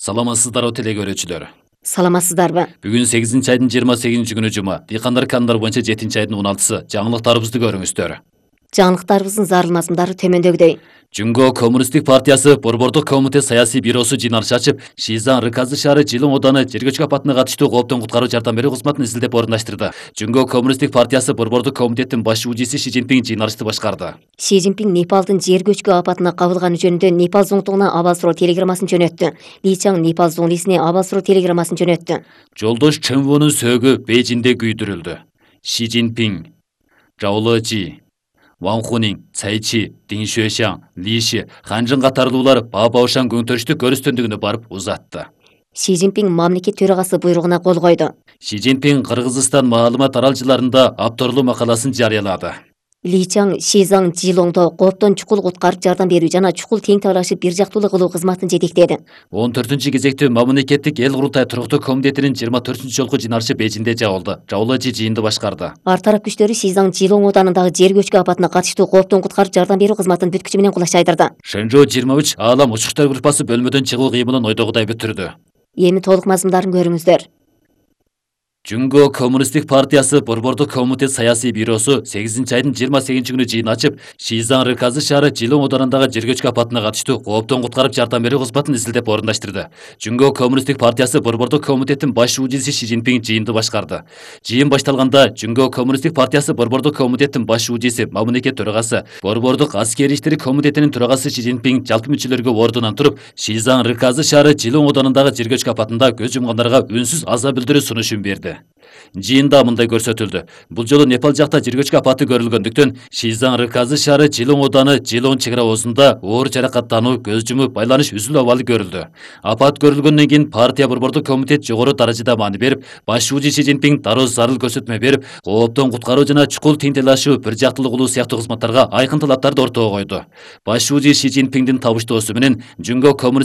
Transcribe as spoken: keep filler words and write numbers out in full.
Саламатсыздарбы теле көрүүчүлөр. Саламатсыздарбы? Бүгүн сегизинчи айдын жыйырма сегизинчи күнү жума. Дыйкандар канундар боюнча жетинчи айдын он алтысы. Жаңылыктарыбызды көрүңүздөр. Жаңылыктарыбыздын зарыл мазмундары төмөндөгүдөй. Жумго Коммунисттик партиясы Борбордук комитет саясий бюросу жыйналыш ачып, Шизан Рыказы шаары Жылың Ооданы жергөчкү апатына катыштуу кооптон куткаруу жардам берүү кызматын изилдеп орундаштырды. Жумго Коммунисттик партиясы Борбордук комитеттин баш УЖИси Ши Цзиньпин жыйналышты башкарды. Ши Цзиньпин Непалдын жер көчкү апатына кабылганы жөнүндө Непал зоңтугуна абал суроо телеграммасын жөнөттү. Ли Чаң Непал зоңлисине абал суроо телеграммасын жөнөттү. Жолдош Чөнвонун сөөгү Бейжиңде күйдүрүлдү. Ши Цзиньпин, Зhao Leji, Ван Хунин, Цай Чи, Дин Xueshang, Ли Ши, Ханжын катарлуулар Баобаошан көңтөрүштүк көрүстөндүгүнө барып узатты. Ши Цзиньпин мамлекет төрагасы буйругуна кол койду. Ши Цзиньпин Кыргызстан маалымат аралжыларында авторлуу макаласын жарыялады. Ли Чаң Шизаң Жылоңдо кооптон чукул куткарып жардам берүү жана чукул тең талашып бир жактуулуу кылуу кызматын жетектеди. он төртүнчү кезектүү мамлекеттик эл курултай туруктуу комитетинин жыйырма төртүнчү жолку жыйналышы Бейжиңде жабылды. Zhao Leji жыйынды башкарды. Ар тарап күчтөрү Шизаң Жылоң Оодарындагы жер көчкү апатына катыштуу кооптон куткарып жардам берүү кызматын бүткүчү менен кулаш айдырды. Шэнжоу жыйырма үч Аалам учуштар группасы бөлмөдөн чыгуу кыймылын ойдогудай бүтүрдү. Эми толук мазмундарын көрүңүздөр. Жумго Коммунисттик партиясы Борбордук комитет саясий бюросу сегизинчи айдын жыйырма сегизинчи күнү жыйын ачып, Шизан Рыказы шаары Жылың Оодарындагы жер көчкү апатына катыштуу кооптон куткарып жардам берүү кызматын изилдеп орундаштырды. Жумго Коммунисттик партиясы Борбордук комитеттин баш УЖИси Ши Цзиньпин жыйынды башкарды. Жыйын башталганда Жумго Коммунисттик партиясы Борбордук комитеттин баш УЖИси, мамлекет төрагасы, Борбордук аскери иштери комитетинин төрагасы Ши Цзиньпин жалпы мүчөлөргө ордунан туруп, Шизан Рыказы шаары Жылың Оодарындагы жер көчкү апатында көз жумгандарга үнсүз аза билдирүү сунушун берди. Жыйында мындай көрсөтүлдү. Бул жолу Непал жакта жер көчкү апаты көрүлгөндүктөн Шизан Рыказы шаары Жылың Ооданы Жылың чек ара оозунда оор жаракаттануу, көз жумуп байланыш үзүлүү абалы көрүлдү. Апат көрүлгөндөн кийин партия Борбордук комитет жогору даражада маани берип, баш УЖИ Ши Цзиньпин дароо зарыл көрсөтмө берип, кооптон куткаруу жана чукул тең талашуу, бир жактылуу кылуу сыяктуу кызматтарга айкын талаптарды ортого койду. Баш УЖИ Ши Цзиньпиндин табыштоосу менен Жумго Коммунисттик